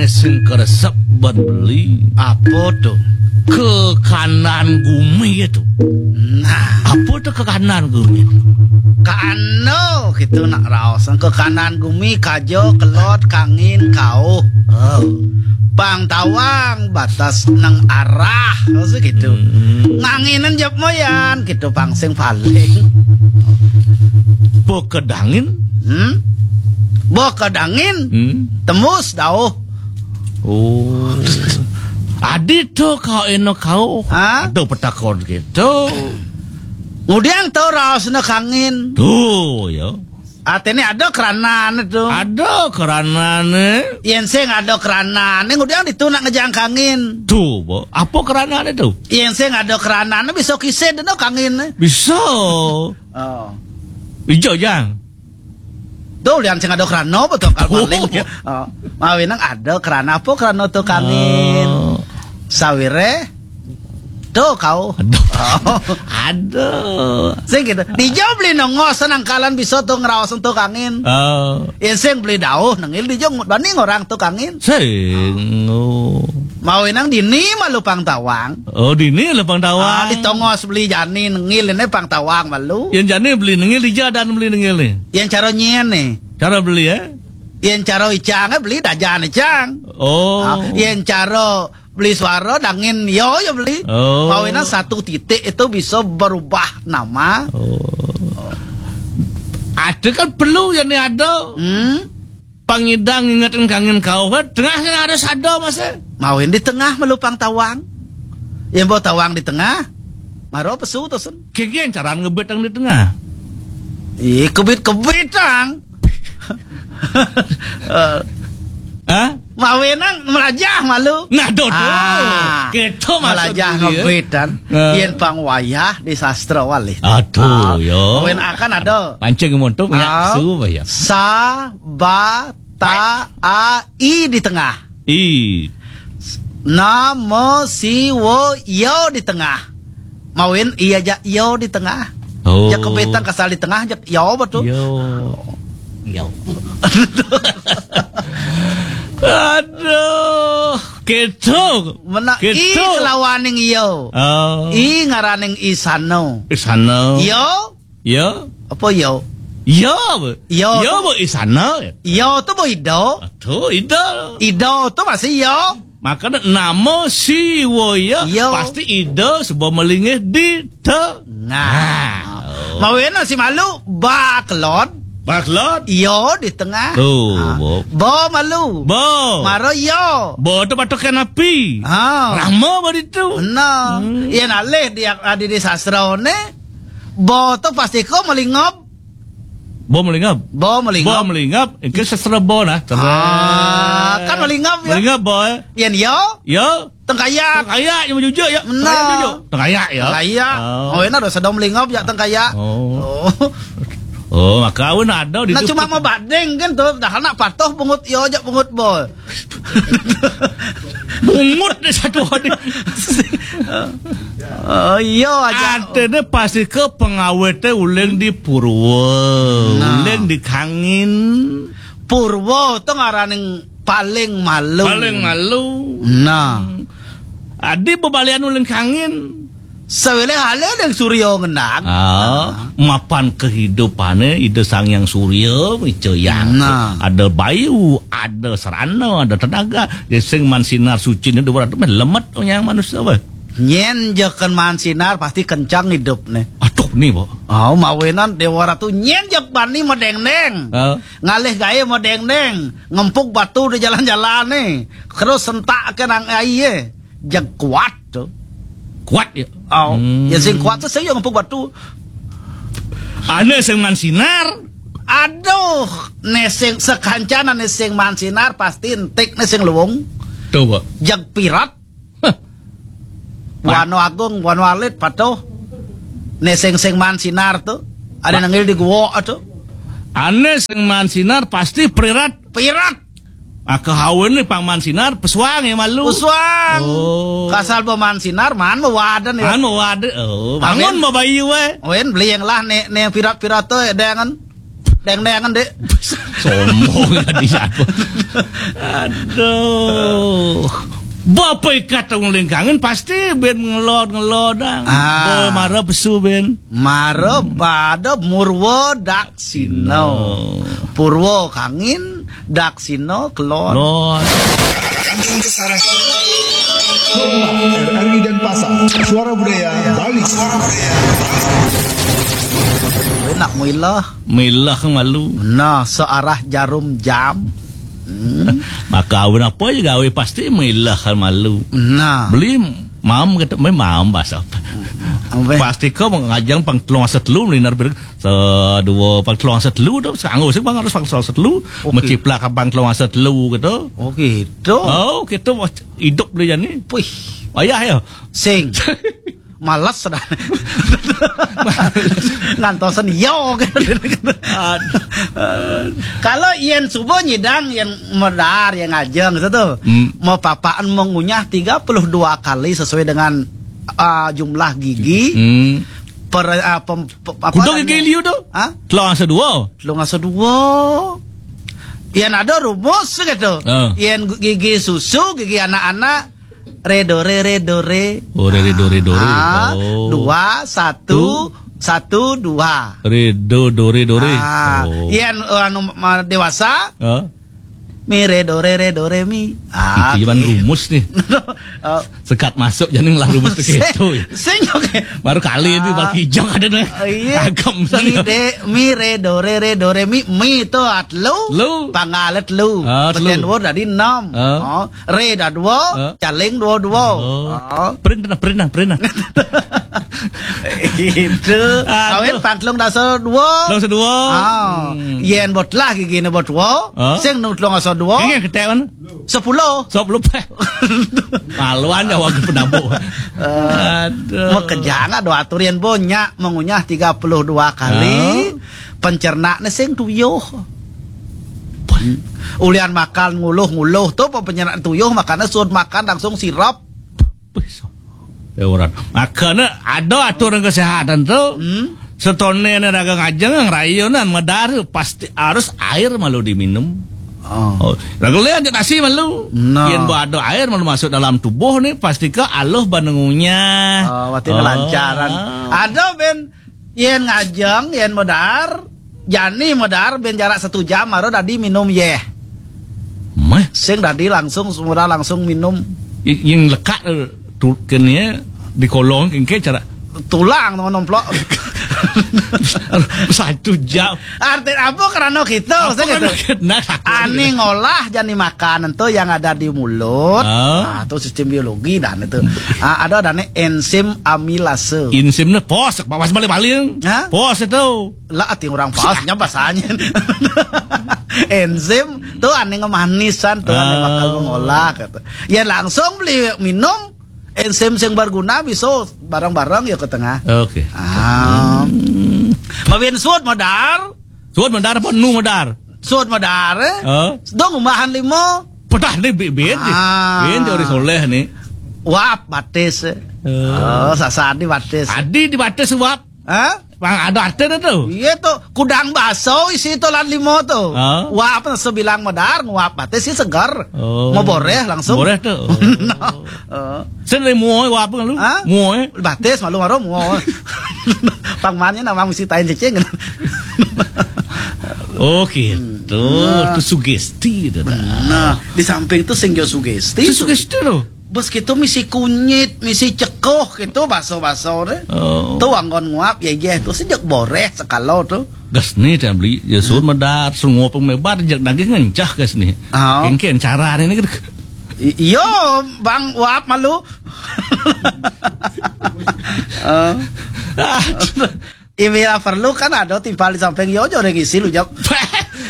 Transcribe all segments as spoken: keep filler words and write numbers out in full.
Sing keresep ban beli. Apa to? Kekanan gumi to. Nah. Apa to kekanan gumi? Kano gitu nak raos. Kekanan gumi kaja, kelod, kangin, kauh. Oh. Pang tawang batas nang arah. Maksud gitu. Hmm. Nganginan jep moyan gitu pang sing paling. Bokedangin? Hmm? Bokedangin? Hmm? Tembus dauh. Oh. Adi to kau eno kau. Ha? Ada petakon gitu. Ngudiang to raosna kangin. Tuh, ya. Artinya ada keranane tuh. Ada keranane. Yen sing ada keranane, ngudiang ditu nak ngejang kangin. Tuh, Bo. Apa keranane tuh? Yen sing ada keranane bisa kisid no kangin. Bisa. Oh. Ijo, Jang. Tuh, lian sing ada kerana betul kan paling. Oh. Oh. Mawinang ada kerana apa kerana tuh kangin. Oh. Sawire. Tuh kau. Aduh. Oh. Aduh. Sing gitu. Dijo beli nongos nangkalan bisa tuh ngeraos tuh kangin. Oh. Yen sing beli dauh nengil dijo bani ngorang tuh kangin. Sing. Oh. Mawinang dini malu pang tawang. Oh, dini malu pang tawang. Ah, ditongos beli jani nengil ini pang tawang malu. Yen jani beli nengil dija dan beli nengil ni. Yen cara nyen ni. Cara beli ya? Yen cara icang eh beli dajan icang. Oh. Ah, yen cara beli suara dangin yo yo beli. Oh. Mawinang satu titik itu bisa berubah nama. Oh. Ada kan perlu yang ni ada. Hmm. Pangidang ngingetin kangin kau kan tengah kan ada sada masa. Mawin di tengah malu pang tawang. Yang bawa tawang di tengah. Maro pesu tosen. Kengkeng caran ngebet yang di tengah. Ih, kebit-kebit ang. Eh, hah? Mawinang melajah malu. Nah, dodo. Ah, gitu maksud melajah dia. Ngebit kan. Nah. Yen pang wayah di sastra wali. Aduh, ah, yo. Mawin akan ada. Pancing montok ya, ah, su ya. Sa, ba, ta, a, i di tengah. I. Na, mo, si, wo, yo di tengah. Mawin iya ja yo di tengah. Oh. Jak kebetang kasal di tengah jak yo betul. Yo. Yo. Aduh, gitu. Mena gitu. I kelawaning yo. Oh. I ngaraning isano. Isano. Yo. Ya. Apa ya? Ya, apa? Ya, ya, apa? Isana. Ya, tu apa ida? Tu ida. Ida tu masih ya. Makanya nama si wo ya, ya. Pasti ida sebab melingih di tengah. Nah. Nah. Oh. Mawena si malu, baklot. Baklot. Ya di tengah. Tu, ah. Bo. Bo malu. Bo. Mara ya. Bo tu patokan api. Ha. Rama bari tu. Nah. Hmm. Iya nalih di, di, di sastra ne. Bo tu pasti ko melingop. Bo melingop. Bo melingop. Bo melingop. Engke sesera bo nah. Ah, kan melingop ya. Melingop bo. Eh. Yen yo. Yo. Tengkayak. Tengkayak yang jujur ya. Nah. Tengkayak jujur. Tengkayak ya. Tengkayak. Oh. Oh, enak dah sedang melingop ya tengkayak. Oh. Oh. Oh, maka awin ada di. Nah, cuma mau badeng kan tuh. Dah anak patuh pungut yo aja pungut bo. Bungut deh satu hari. Oh, iya aja. Artinya pasti ke pengawetnya uling di Purwo. Nah. Uling di Kangin. Purwo tuh ngaraning paling malu. Paling malu. Nah. Adi bebalian uling Kangin. Sawele hale deng surya ngenang. Ah, nah. Mapan kehidupane Ida Sang Hyang Surya, Ica Hyang. Nah. Ada bayu, ada serana, ada tenaga. Dia sing man sinar suci ni dua ratus meh lemet nyang manusia weh. Nyen jeken man sinar pasti kencang hidupne. Aduh ni, Pak. Oh, mawinan Dewa Ratu nyen jek bani medengdeng. Ah. Ngalih gaye medengdeng, ngempuk batu di jalan-jalan ni. Terus sentak ke nang aie. Jeg kuat tu. Kuat ya? Oh, hmm. Ya sing kuat tu saya ngepuk batu. Ane sing man sinar. Aduh, ne sing sekancana ne sing man sinar pasti entik ne sing luwung. Coba. Jeg pirat. Hah. Wano Agung, Wano Alit patuh. Ne sing sing man sinar tu. Ada nengil di gua tu. Ane sing man sinar pasti prirat. Pirat. Ah, kehawen ni pang man sinar, pesuang ya malu. Pesuang. Oh. Kasal bo man sinar, man mewaden ya. Man mewaden. Oh, bangun mau bayi we. Wen beli yang lah ne ne pirat-pirat tu ya dengan. Teng-tengan, Dek. Sombong tadi siapa? Aduh. Bapak ikat tong lingkangan pasti ben ngelod-ngelodang. Ah. Boy mara pesu ben. Mara pada Murwa Daksina. Purwa kangin, Daksina kelod. Lod. Kanjeng Besar. R R I Denpasar, Suara Budaya Bali. Enak muilah. Milah malu. Nah, searah jarum jam. Hmm. Maka awin apa aja gawe pasti milah malu. Nah. Beli mam kata, "Mai mam bahasa apa?" Apa? Pasti kau ngajang pang telung asa telu, melina bir, sedua pang telung asa telu tu, sanggup sih bang harus pang telung asa telu, oh, gitu. Meciplak pang telung asa telu gitu. Oh, gitu. Oh, gitu, hidup beli jani. Puih. Ayah ya. Sing. Males dah. Ngantosen yo. Aduh. Kalau yen subuh nyidang, yen medar, yen ngajeng gitu tuh. Hmm. Mau papaan mengunyah tiga puluh dua kali sesuai dengan, ah, jumlah gigi. Hmm. Per, ah, pem, pe, apa kudu namanya? Gigi liu tuh? Hah? Telung asa dua. Telung asa dua. Yen ada rumus gitu. Ah. Yen gigi susu, gigi anak-anak, re do re, re do re. Oh, re, re, do, re, do, re. Ah, oh. Dua, satu, satu, dua. Re, do, do, re, do, re. Ah, oh. Yen, eh, anu, ma-, dewasa, ah? Mi, re, do, re, re, do, re, mi. Ah, itu cuman gitu. Rumus nih. Oh. Sekat masuk jadi ngelah rumus tuh gitu. Sing, sing, oke. Baru kali itu, ah, baru kijang ada nih. Oh, iya. Agam mi, saya. De, mi, re, do, re, re, do, re, mi. Mi itu at lu. Lu. Panggalet lu. Ah, telu. Peten wor dari enam. Ah. Oh. Re dah dua, ah, caling dua dua. Oh. Ah. Pernah, pernah, pernah. Itu. Aduh. Awet pang telung dasa dua. Telung dasa dua. Ah. Hmm. Yen bot lah gigi ne bot dua. Ah. Sing nu telung dasa dua. Ini ketek mana? Sepuluh. Sepuluh peh. Maluan ya warga penampung. Eh, aduh. Makejang ada atur yen bonya mengunyah tiga puluh dua kali. Ah. Pencerna ne sing tuyuh. Ulian makan nguluh-nguluh tu, pencerna tuyuh, makanya suud makan langsung sirap. Ya, orang. Makanya ada aturan kesehatan tu. Hmm. Setone ne dagang ajeng, rayunan medar, pasti harus air malu diminum. Oh. Oh, lagu le aja nasi malu. No. Yen ba ada air malu masuk dalam tubuh ni, pasti ke aluh banengunya. Oh, berarti oh, ngelancaran. Ada ben Yen ngajeng, yen medar, jani medar, ben jarak satu jam, baru dadi minum yeh. Meh? Sing dadi langsung, semula langsung minum. I-, yang lekat, eh, tu-, kene, di kolong, kengke cara. Tulang, teman nomplok. Satu jam. Arti apa kerana kita? Apa sing kerana gitu? Kita? Nah, aku ane ngolah jani makanan tu yang ada di mulut. Ah. Nah, tu sistem biologi dan itu. Ah, ada adanya enzim amilase. Enzimnya pos, pas balik-balik. Hah? Pos itu. Lah, ati orang pasnya bahasanya. Enzim tu ane ngemanisan tu, ane bakal mengolah kata. Ya langsung beli minum enzim sing berguna bisa bareng-bareng ya ke tengah. Oke. Ah. Hmm. Mawin suud medar. Suud medar apa nu medar? Suud medar, eh? Oh. Dong umbahan lima. Pedah ni bi-, bin. Ah. Bin teori soleh ni. Wap batis, eh. Oh. Oh, sasadi batis. Adi di batis wap. Hah? Bang, ada arti dah tu. Iya tu, kudang baso isi tu lan lima tu. Ha? Wap sebilang medar, nguap batis si segar. Oh. Ngeboreh langsung. Boreh tu. Oh. Nah, eh. Sen lima wap lu? Ha? Mua, eh? Batis malu maru mua. Pangmannya nama mesti tain cecing. Oh, gitu. Hmm. Tu sugesti tu dah. Nah, di samping tu sing jo sugesti. Tu sugesti tu. Bos gitu misi kunyit, misi cekoh gitu, baso-baso deh. Oh. Tu anggon nguap, ya, ya, tu sejak boreh sekalo tu. Gas ni, dah beli, ya, sun medar, sun nguap mebar, jak daging ngencah gas ni. Oh. Kengken cara ni, ni. I-, iyo, bang, uap malu. Oh. Imi lah perlu kan ada timpal di samping, yo, jo, orang isi lu, jawab.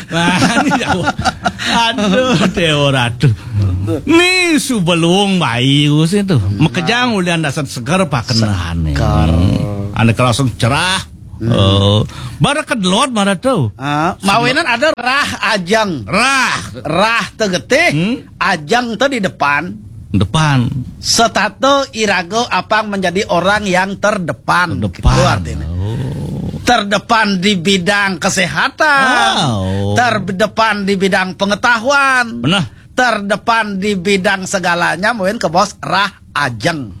Wah, ini jauh. Aduh, Dewa Ratu. Ni subelung bayi ku sih tu. Makejang ulian dasar seger pakenahan ni. Seger. Ane kerasung cerah. Hmm. Oh, bara kedlot, bara tu. Ah, mawinan ada rah ajang. Rah. Rah tegetih, hmm? Ajang tu di depan. Depan. Setata iraga apang menjadi orang yang terdepan. Terdepan. Gitu artinya. Oh. Terdepan di bidang kesehatan, oh, terdepan di bidang pengetahuan, benar, terdepan di bidang segalanya, mungkin ke bos Rah Ajeng.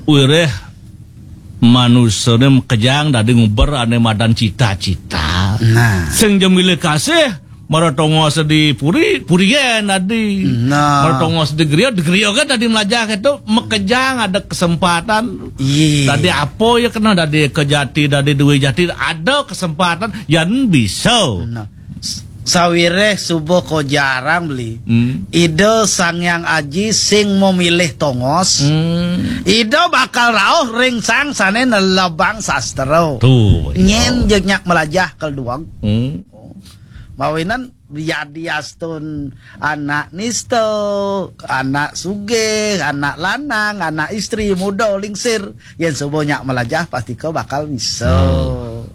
Wiréh manusané makejang dadi nguber ané madan cita-cita. Nah. Sing ja milih kasih, mara tongos di puri, purian dadi. Nah. Mara tongos di griya, di griya kan dadi melajah kéto, makejang ada kesempatan. Iya. Dadi apa ya kena, dadi kejati, dadi duwe jati, ada kesempatan, yan bisa. Nah. S-, sawiréh suba ko jarang beli. Hmm. Ida Sang Hyang Aji sing memilih tongos. Hmm. Ida bakal rauh ring sang sané nelebang sastra. Tuh, iya. Nyén jeg nyak melajah kel dueg. Hmm. Mawinan yadiastun anak nista, anak sugih, anak lanang, anak istri, muda, lingsir. Yén suba nyak melajah, pasti ko bakal bisa. Hmm.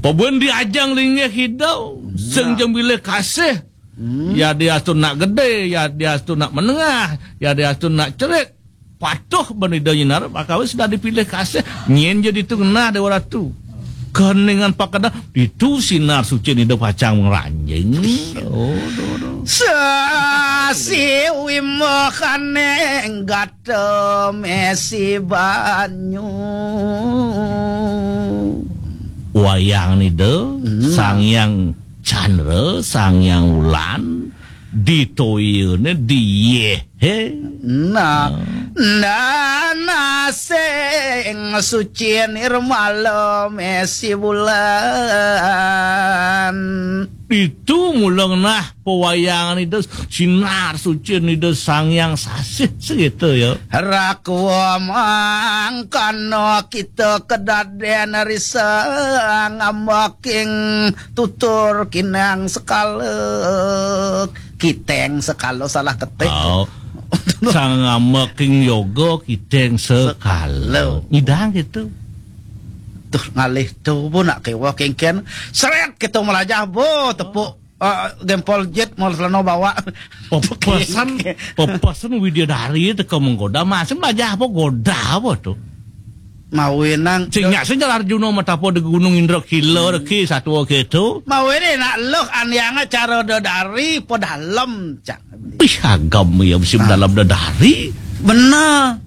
Pabén di ajang linggih ida, sing ja milih kasih. Hmm. Yadiastun nak gedé, yadiastun nak menengah, yadiastun nak cerik. Patuh bén ida nyinar, bakal wis sudah dipilih kasih. Nyén ja ditu ngenah Déwa Ratu. Keningan pakedah, ditu sinar suci ida pacang ngranjing. Oh, do, do. Sasi wimah kaning gata mesi banyu. Wayang ida, hmm, Sang Hyang Candra, Sang Hyang Wulan, ditoyané diyéh. Nah, nah, nah, sing suci nirmala mesi bulan. Ditu mula ngenah pawayangan ida, sinar suci ida Sang Hyang Sasih, segitu ya. Rakwa mangkana kita kedadén risa ngambaking tutur kinang sekala. Kiteng sekala salah ketik. Oh. Sang ngambaking yoga kiteng sekala. Sekala. Ngidang gitu. Tuh ngalih tuh, bo, nak kéweh kéngkén. Seret kita melajah, bo, tepuk, eh, gempol jet, mau selana bawa. Pepesan, pepesan Widyadari teka menggoda, masih melajah apa goda apa tuh? Mawinan sing nyak sing jalar Arjuna matapa di Gunung Indra Kila, hmm, reki satua gitu. Mawinan nak luh andianga cara dedari pedalem, cak. Ih, agam ya mesti, ah, pedalem dedari. Bener.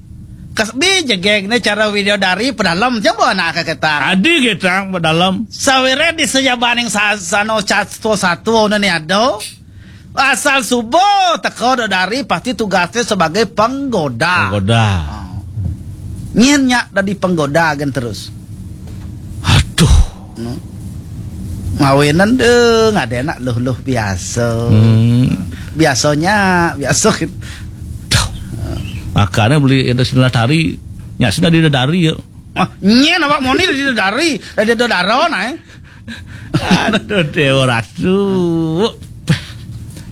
Kasbi jegeg né cara Widyadari pedalem, coba nak ke ketang. Adi ketang pedalem. Sawiréh di sejabaning sa-, sano satua-satua né ada. Asal suba teka dedari pasti tugasné sebagai penggoda. Penggoda. Ah. Nyén nyak dadi penggoda gén terus. Aduh. Hmm. Mawinan deh, ngadéna luh-luh biasa. Hmm. Biasanya, biasa gitu. Duh. Makanya beli ada sendal tari, nyak sendal di dedari ya. Ah, nyén awak moni di dedari, di dedaro nah. Aduh, Déwa Ratu.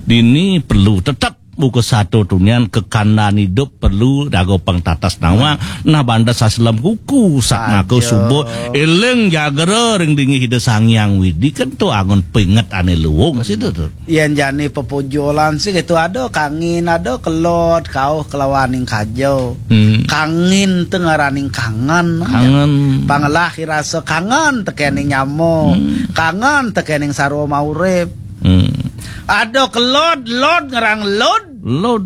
Dini perlu tetep buka satu tunian kekandan hidup perlu dago pang tatas nawang. Nah, banda saselem kuku sak ngako suba eling jagra ring dingih Ida Sang Hyang Widi kan tu angon pinget ané luung situ tu. Yén jani pepujolan sih gitu, ada kangin, ada kelod, kauh kelawaning kaja. Hmm. Kangin tu ngaraning kangen. Kangen. Pangelah rasa kangen tekening nyama. Hmm. Kangen tekening sarwa maurip. Hmm. Ada kelod, lod ngerang lod. Lod.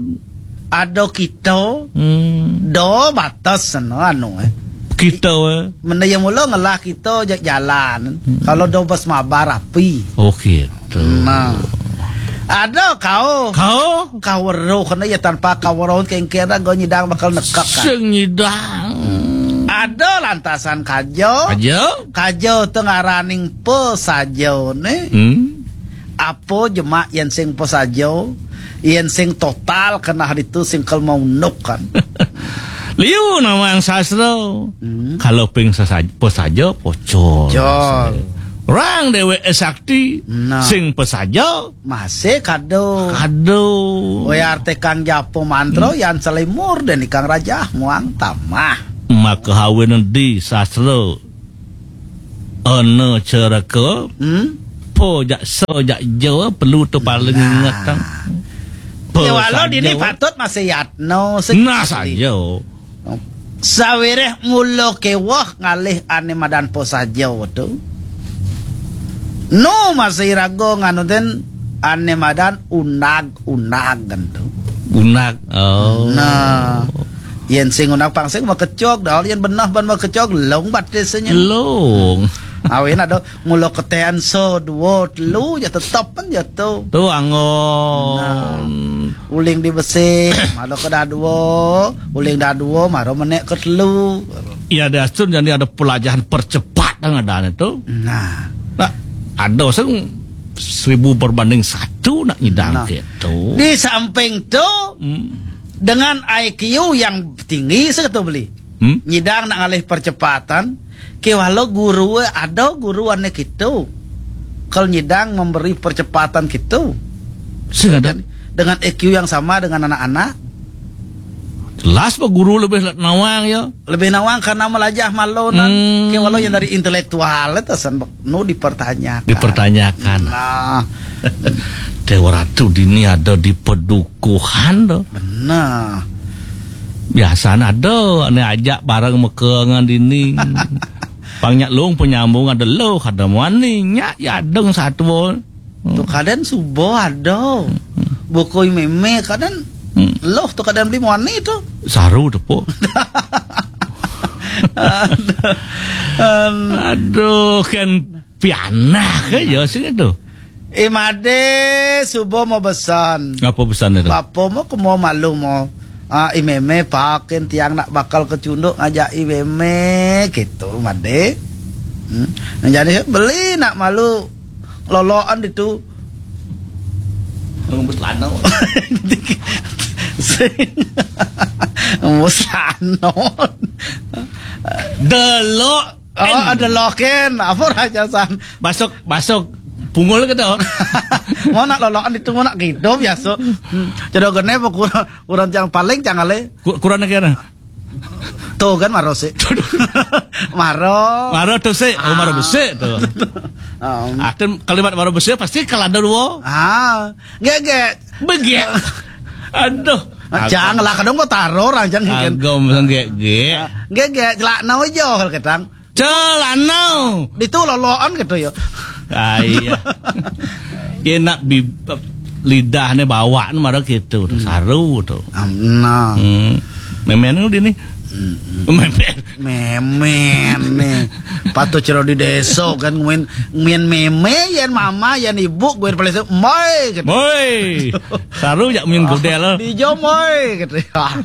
Ada kita. Hmm. Do batas sana anu, eh. Kita, eh. Menda ya mula ngelah kita ja-, jalan. Hmm. Kalau do bas mabar api. Oh, gitu. Nah. Ada kau. Kau? Kau weruh kena ya tanpa kau weruh kengkera go nyidang bakal nekak kan. Sing nyidang. Ada lantasan kaja. Kaja? Kaja tu ngaraning pesaja né. Hmm. Apa jemak yén sing pesaja, yén sing total kenah ditu sing kel maunduk kan. Liu nawang sastra. Hmm. Kalau ping sasa-, pesaja pocol. Pocol. Orang déwék sakti, nah, sing pesaja masih kado. Kado. Wé arti kang japa mantra, hmm, yan selimur dan ikang rajah muang tamah. Maka hawin di sastra ana cereka, hmm? Po jak so jak jo perlu tu paling, nah, ingat tang. Po ya, walau saja. Dini patut masih yatno sing nah asli. Saja. Sawiréh mula kéweh ngalih ané madan Posaja to. Nu masih raga nganuten ané madan unag-unag to. Unag. Oh. Nah, yén sing unag pang sing makecog, dah yén beneh ban makecog, lung batisnya. Lung. Awin ada mula ketén sa dua telu ya tetep kan ya to. Tu anggon. Nah, uling di besi, mara ke dadua, uling dadua, mara menék ke telu. Ya, ada sun jadi ada pelajaran percepatan ada tu. Nah. Nah, ada sing seribu berbanding satu nak nyidang nah. Gitu. Di samping tu, hmm. Dengan I Q yang tinggi seketu beli. Hmm? Nyidang nak ngalih percepatan, kéwala guru ada guru ané kitu. Kal nyidang memberi percepatan kitu. Sing ada. Dengan, dengan I Q yang sama dengan anak-anak. Jelas bah guru lebih nawang ya. Lebih nawang karena melajah malu nan hmm. Kéwala yang dari intelektual itu san nu dipertanyakan. Dipertanyakan. Nah. Déwa Ratu dini ada di pedukuhan to. Benar. Biasanya ada ané ajak bareng meka ngan dini. Pang nyak lung penyambung ada lo kada muani nyak ya deng satu. Tu kadén suba ada. Buku mémé kadén hmm. Loh tu kadén beli muani tu. Saru tu po. Aduh, kan pianah ke ya sing tu. Eh, Madé, suba mau besan. Apa besan itu? Bapa mau ke mau malu mau. Ah, i mémé pakin tiang nak bakal kecunduk ngajak i mémé gitu, Madé. Hmm. Jadi beli nak malu loloan itu. Ngembus lano. Ngembus lano. Delok. Oh, ada loken. Apa raja san? Basuk, basuk. Pungul ke tu? Mau nak lolokan itu, mau nak gitu biasa. Hmm. Cedok gene apa kurang, kurang yang paling jangan le. Kurang lagi ada. Tuh kan maro sih. Maro. Maro tu sih. Oh, maro besik tu. Um. Ah, tu kalimat maro besik pasti kalau ada dua. Ah, gege. Begek. Aduh. Jangan lah kadang kau taruh orang jangan kan. Agom sanggek gek. Gege celak nau jo kalau ketang. Celana. Ditu loloan gitu ya. Ah, iya. Enak bi lidahnya bawaan marah gitu, hmm. Saru tuh. Nah. Hmm. Memen udah nih. Hmm. Memen. Memen nih. Patut cero di desa kan nguen nguen meme yen mama yen ibu gue paling moy gitu. Moy. Saru jak min godel. Di jo moy gitu ya.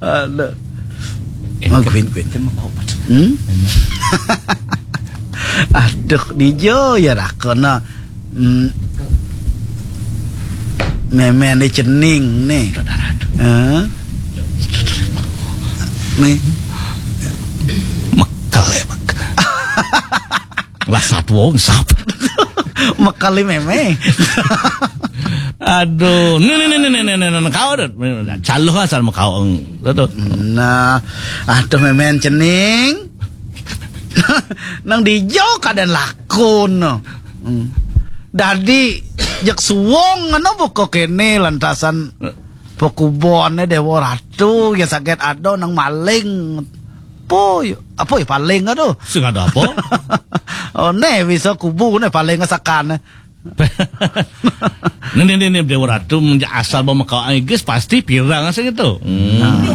Aduh. Oh, Queen, Queen. Hmm? Aduh, dijo ya rakona. Hmm. Meme ni cening ni. Hah? Ni. Mekel ya, mekel. Lah satu wong sap. Mekali meme. Aduh, nih nih nih nih nih nih nih kau dah. Caluh asal mau kau. Betul. Nah, aduh memen cening. Nang dijo kadén lakon. Hmm. Dadi jek suwung ngono buka kene lantasan pekubone Dewa Ratu ya saget ada nang maling. Apa ya? Apa ya paling aduh? Sing ada apa? Oh, ne bisa kubu ne paling sakane. Nih nih nih nih Dewa Ratu menja asal bawa mekau Inggris pasti pirang sing itu. Hmm. Nah.